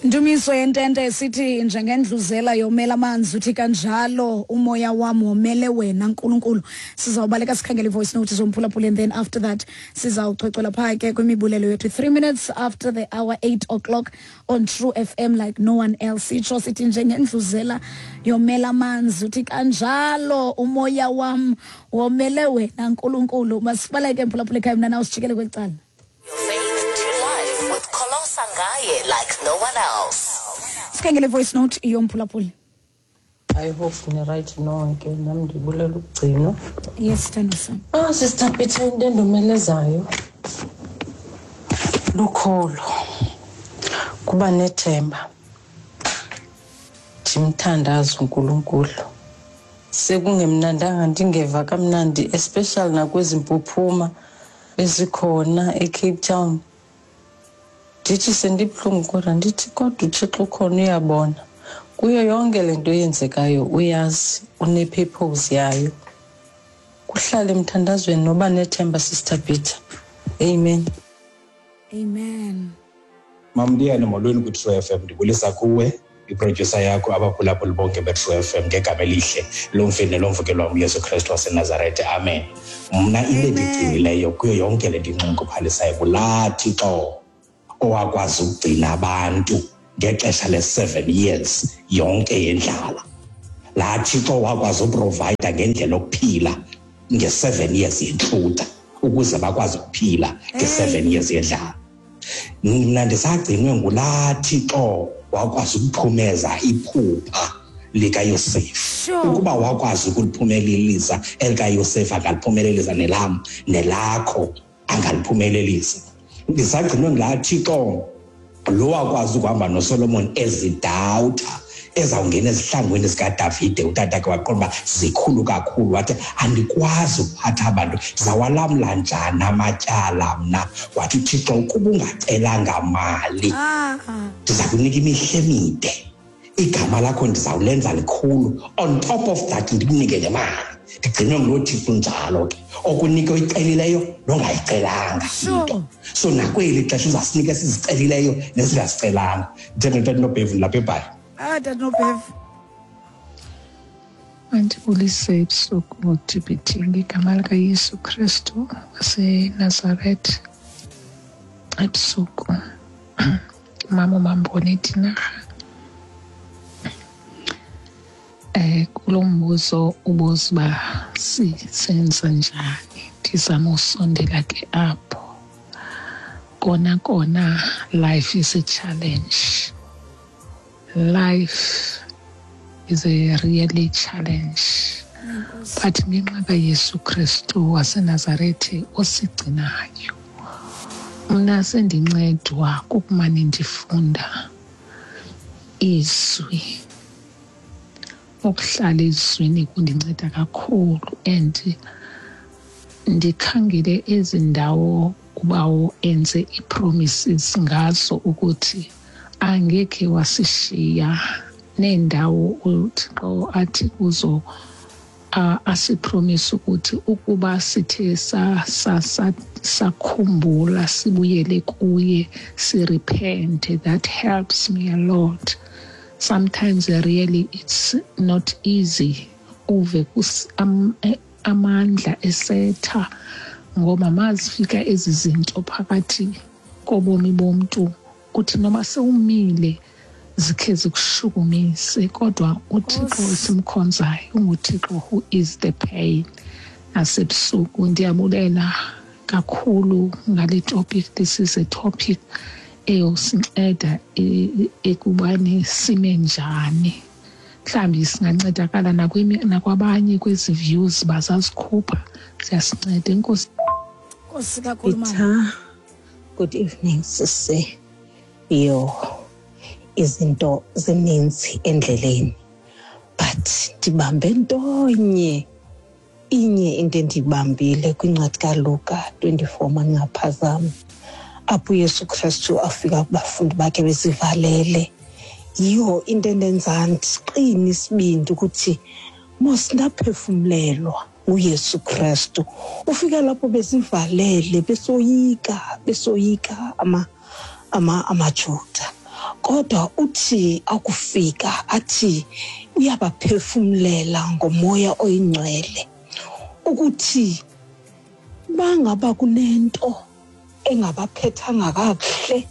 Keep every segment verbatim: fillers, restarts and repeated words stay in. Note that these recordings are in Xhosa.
Ndumiso yentente esithi njengendluzela yomela amanzi, uthi kanjalo umoya wam womele wena Nkulunkulu. Sizawubaleka sikhangele i-voice note zomphulaphula, and then after that sizawuchwechwela phaa ke kwimibulelo yethu. Three minutes after the hour, eight o'clock on True F M like no one else. Sitsho sithi njengendluzela yomela amanzi, uthi kanjalo umoya wam womele wena Nkulunkulu. Masibaleke, mphulaphula ekhaya, mna nawe sijikele kweli cala. Your faith to life with Kholosa Ngaye like no one else. Sikhangele voice note yomphulaphuli. I hope ni-right nonke. Nam ndibulela ukugcinwa. Yes, sithando sam. Ah, Sister Peter, into endomelezayo lukholo, kuba nethemba, ndimthandaza uNkulunkulu. Sekungemnandanga, ndingeva kamnandi, especially nakwezi mpuphuma ezikhona eCape Town. Ndithi sendibuhlungu, kodwa ndithi kodwa uThixo ukhona, uyabona kuyo yonke le nto eyenzekayo, uyazi, une-purpose yayo. Kuhlale emthandazweni noba nethemba, Sister Peter. Amen. Amen. Mamliyane, molweni kwi-True F M. Ndibulisa kuwe, iprodyusa yakho, abaphulaphuli bonke be-True F M ngegama elihle lomfeni nelomvukelo wam uYesu Kristu waseNazarete, amen. Mna into endigcinileyo kuyo yonke le nto inxunguphalisayo kulaa Thixo owakwazi ukugcina abantu ngexesha le-seven years yonke yendlala, laa Thixo wakwazi u-provide-a ngendlela yokuphila nge-seven years yentlutha ukuze bakwazi ukuphila nge-seven years yendlala. Mna ndisagcinwe ngulaa Thixo wakwazi ukuphumeza iphupha likaYosefu. Sure. Ukuba wakwazi ukuliphumelelisa elikaYosefu, angaliphumelelisa nelam, nelakho angaliphumelelisa. Ndisagcinwe ngulaa Thixo lo wakwazi ukuhamba noSolomon ezidawutha ezawungena ezihlangwini zikaDavide, utatakhe, waqonda uba zikhulu kakhulu, wathi andikwazi ukuphatha abantu, ndizawalamla njani amatyala mna? Wathi uThixo, ukuba ungacelanga mali, Ah. ndiza kunika imihla emide, igama lakho ndizawulenza likhulu, on top of that ndikunike nemali. Ndigcinwe nguloo Thixo njalo ke, okunika oyicelileyo nongayicelanga Sure. into. So nakweli xesha uzasinika esizicelileyo nesingazicelanga. Ndithetha noBhevu lapha eBhayi. Ah, tata Nobhevu. Mandibulise ebusuku T B T ngegama likaYesu Kristu waseNazaretha. Ebusuku, mama uMambone Tinarha. Eh kulo mbuzo ubuza uba sisenza njani, ndizama usondela ke apho. Kona kona life is a challenge. Life is a really challenge. But ngenxa kaYesu Kristu waseNazaretha osigcinayo, mna sendincedwa kukumane ndifunda izwi. Ukuhlala ezwini kundinceda kakhulu, and ndikhangele ezi ndawo ubawo enze ii-promises ngazo ukuthi angekhe wasishiya, neendawo uThixo athi kuzo uh, asi-promise ukuthi ukuba sithe sa, sa, sa, sakhumbula sibuyele kuye, si-repent. That helps me a lot. Sometimes really it's not easy, uve kus, am, eh, amandla esetha, ngoba mazifika ezi zinto phakathi kobomi bomntu, uthi noma sewumile zikhe zikushukumise, kodwa uThixo esimkhonzayo unguThixo who is the pain. Nasebusuku ndiyabulela kakhulu ngale topic. This is a topic eyosinceda ekubani sime njani. Mhlawumbi singancedakala nakwabanye kwezi views bazazikhupha, siyasinceda. Enkosi. Nkosi kakhulu, mama. Peter, good evening, sisi. Yo, izinto zininzi endleleni, but ndibambe ntonye, inye into endiyibambile kwincwadi kaLuka twenty-four, mandingaphazami, apho uYesu Kristu afika kubafundi bakhe bezivalele. Yiyo into endenza ndiqine isibindi ukuthi mos ndaphefumlelwa nguYesu Kristu. Ufika lapho bezivalele, besoyika, besoyika ama, ama, amaJuda. Kodwa uthi akufika athi uyabaphefumlela ngomoya oyingcwele ukuthi bangaba kunento engabaphethanga kakuhle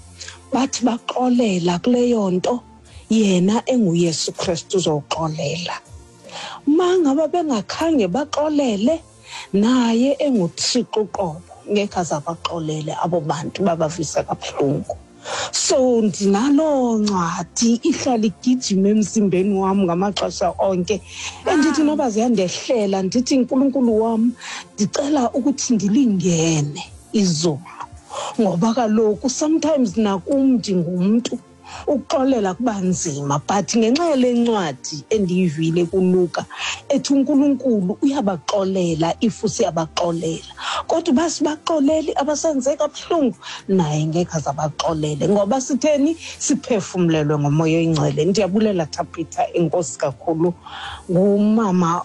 bathi baxolela kuleyo nto, yena enguYesu Kristu uzoxolela. Mangaba bengakhange baxolele, naye enguThixo uqobo ngeke azabaxolele abo bantu babavisa kabuhlungu. So ndinaloo ncwadi ihlala igijima emzimbeni wam ngamaxesha onke, endithi noba ziyandehlela ndithi Nkulunkulu wam ndicela ukuthi ndilingene izulu, ngoba kaloku sometimes nakum ndingumntu ukuxolela kuba nzima, but ngenxa yale ncwadi endiyivile kuLuka ethi uNkulunkulu uyabaxolela if siyabaxolela, kodwa uba sibaxoleli abasenze kabuhlungu naye ngeke azabaxolele, ngoba sitheni siphefumlelwe ngomoya oyingcwele. Ndiyabulela Thabitha, enkosi kakhulu. Ngumama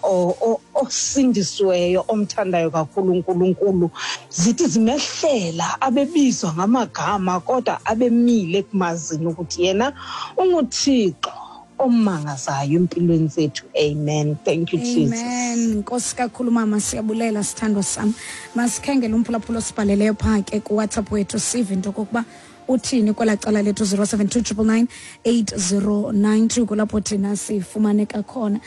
osindisiweyo omthandayo kakhulu uNkulunkulu. Zithi zimehlela abebizwa ngamagama kodwa abemile ekumazini ukuthi yena unguThixo omangazayo empilweni zethu. Amen. Thank you, Jesus. Amen. Nkosi kakhulu mama, siyabulela sithandwa sami. Masikhangele umphulaphula osibhaleleyo phaa ke kuWhatsApp wethu sive into okokuba uthini kwela cala lethu zero seven two triple nine eight zero nine two kulapho thina sifumaneka khona.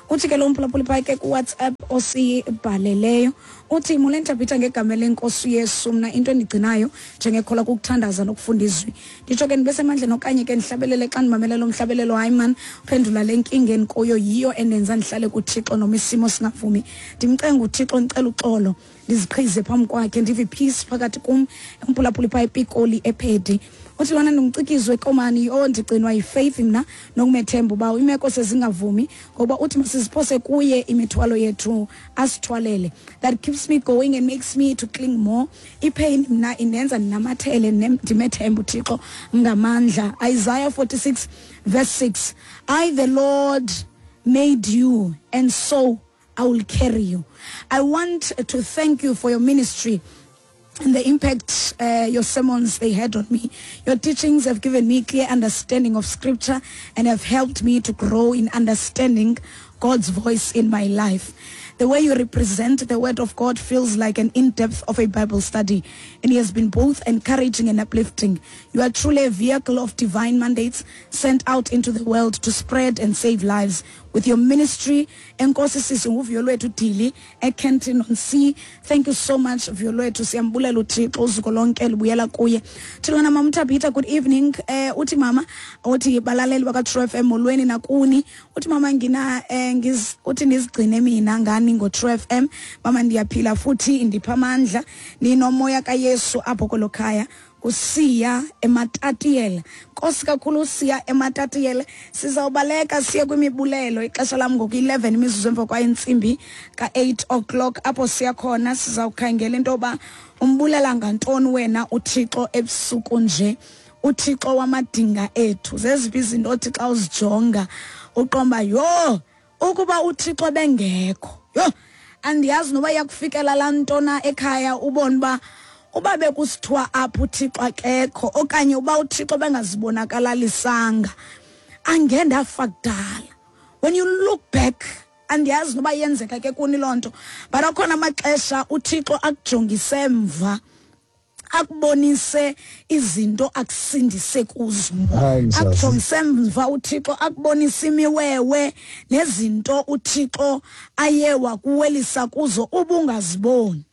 Uthi ke lo mphulaphuli phaa ke kuWhatsApp osibhaleleyo uthi molweni Thabitha, ngegama lenkosi uYesu, mna into endigcinayo njengekholwa kukuthandaza nokufunda izwi. Nditsho ke ndibe semandleni okanye ke ndihlabelele xa ndimamele lo mhlabelelo. Hayi man, uphendula le nkinga endikuyo yiyo endenza ndihlale kuThixo noma isimo singavumi. Ndimcenga uThixo, ndicela uxolo, ndiziqhize phambi kwakhe, ndive peace phakathi kum. Umphulaphuli phaa ePikoli ePhedi uthi lona ndingumcikizwe komani, yho ndigcinwa yifaith mna nokumethemba uba imeko sezingavumi, ngoba uthi masiziphose kuye imithwalo yethu asithwalele. That keeps me going and makes me to cling more. Ipain mna indenza ndinamathele ndimethemba uThixo ngamandla. Isaiah forty-six verse six, I the Lord made you and so I will carry you. I want to thank you for your ministry and the impact uh, your sermons they had on me. Your teachings have given me clear understanding of scripture and have helped me to grow in understanding God's voice in my life. The way you represent the word of God feels like an in-depth of a Bible study, and it has been both encouraging and uplifting. You are truly a vehicle of divine mandates sent out into the world to spread and save lives. With your ministry, enkosi sisi nguVuyolwethu Dili eKenton on Sea. Thank you so much, Vuyolwethu. Siyambulela uThixo, uzuko lonke lubuyela kuye. Thilwana Mama Thabitha, good evening. Eh uthi mama, uthi balaleli baka True F M molweni nakuni. Uthi mama ngina eh ngiz uthi nizigcine mina ngani ngo True F M. Mama ndiyaphila futhi indipha amandla. Ninomoya kaYesu apho kolokhaya. Usiya eMatatiyela. Nkosi kakhulu usiya eMatatiyela. Sizawubaleka siye kwimibulelo. Ixesha lam ngoku eleven imizuzu emva kwentsimbi ka eight o'clock apho siya khona. Sizawukhangela into yoba umbulela ngantoni wena uThixo ebusuku nje. uThixo wamadinga ethu. Zeziphi izinto othi xa uzijonga uqomba yho ukuba uThixo bengekho. Yho andiyazi noba iyakufikela laa ntona ekhaya ubone uba uba bekusithiwa apho uThixo akekho okanye uba uThixo bengazibonakalalisanga angeke ndafa kudala. When you look back, andiyazi noba yenzeka ke kuni loo nto, but akhona amaxesha uThixo akujongise emva akubonise izinto akusindise kuzo. Akujongise emva uThixo akubonise imiwewe nezinto uThixo aye wakuwelisa kuzo ubungaziboni.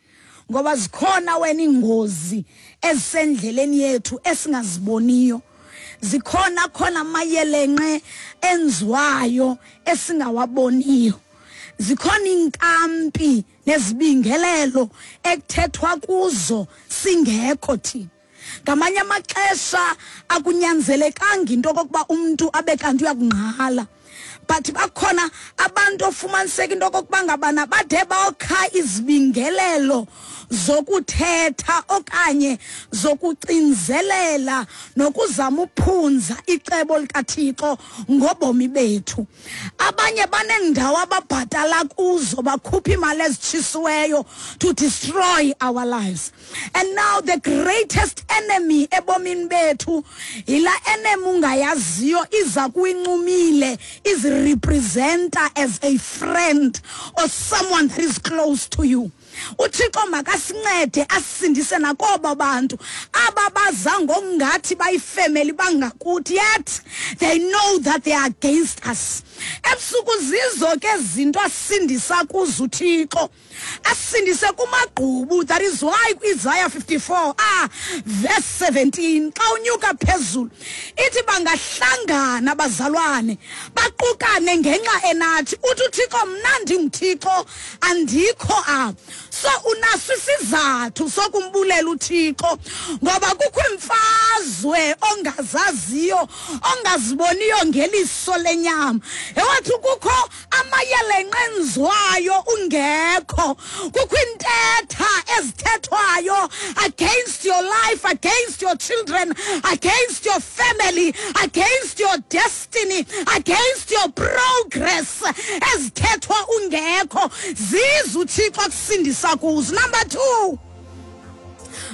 Ngoba zikhona wena ingozi ezisendleleni yethu esingaziboniyo. Zikhona khona amayelenqe enziwayo esingawaboniyo. Zikhona inkampi nezibingelelo ekuthethwa kuzo singekho thina. Ngamanye amaxesha akunyanzelekanga into okokuba umuntu abe kanti uyakungqala, But bakhona abantu ofumaniseka into okokuba ngabana bade bawukha izibingelelo zokuthetha okanye zokucinzelela nokuzama uphunza icebo likaThixo ngobomi bethu. Abanye banendawo ababhatala kuzo bakhupha imali ezitshisiweyo to destroy our lives. And now the greatest enemy ebomini bethu yila enemy ungayaziyo iza kuyincumile is representer as a friend or someone that is close to you. uThixo makasincede asisindise nakoba bantu ababaza ngokungathi bayifamily bangakuthi, yet they know that they are against us. Ebusuku zizo ke zinto asindisa kuzo uThixo, asindise kumagqubu. That is why Isaiah fifty-four ah verse seventeen xa unyuka phezulu ithi bangahlangana abazalwane baqukane ngenxa enathi, uthi uThixo mna ndinguThixo andikho apha. So unaso isizathu sokumbulela uThixo ngoba kukho imfazwe ongazaziyo ongaziboniyo ngeliso lenyama. Ewathi kukho amayelenqe enzwayo ungekho, kukho intetha ezithethwayo against your life, against your children, against your family, against your destiny, against your progress ezithethwa ungekho. Ziza uThixo akusindisa kuzo. Number two,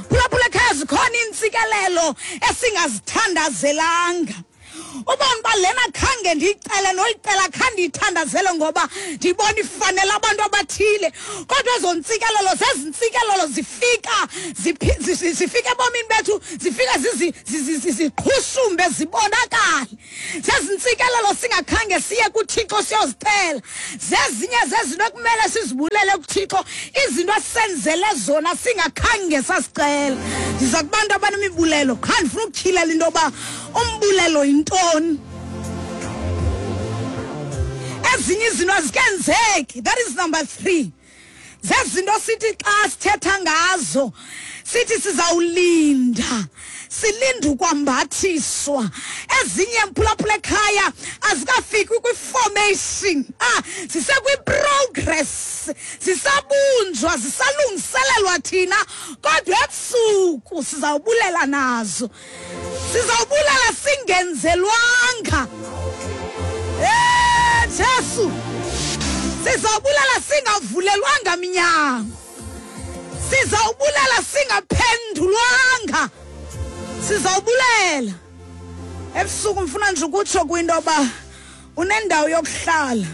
phulaphula ekhaya, zikhona iintsikelelo esingazithandazelanga. Ubona uba lena khange ndiyicele noyicela khange ndiyithandazele ngoba ndibona ifanele abantu abathile, kodwa ezo ntsikelelo zezintsikelelo zifika zifika ebomini bethu, zifika ziqhushumbe zibonakale. Zezintsikelelo singakhange siye kuThixo siyozicela, zezinye zezinto ekumele sizibulele kuThixo, izinto asenzele zona singakhange sasicela. Ndiza kubantu abanemibulelo, qha ndifuna ukutyhilela into yoba umbulelo yintoni. Ezinye izinto azikenzeki. That is number three. Zezinto sithi xa sithetha ngazo sithi sizawulinda, silinda ukwambathiswa. Ezinye mphulaphula ekhaya azikafiki kwi-formation, ah sisekwi-progress, sisabunjwa, sisalungiselelwa thina, kodwa ebusuku sizawubulela nazo, sizawubulela singenzelwanga. Eh Jesu, sizawubulela singavulelwanga minyango, sizawubulela singaphendulwanga, sizawubulela ebusuku. Mfuna nje ukutsho kwinto yoba unendawo yokuhlala,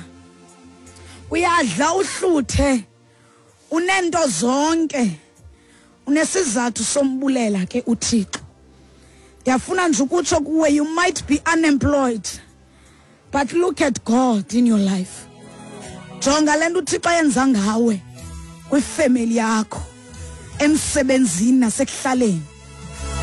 uyadla uhluthe, unento zonke, unesizathu sombulela ke uThixo. Ndiyafuna nje ukutsho kuwe, you might be unemployed, but look at God in your life. Jonga le nto uThixo ayenza ngawe kwifemeli yakho, emsebenzini nasekuhlaleni.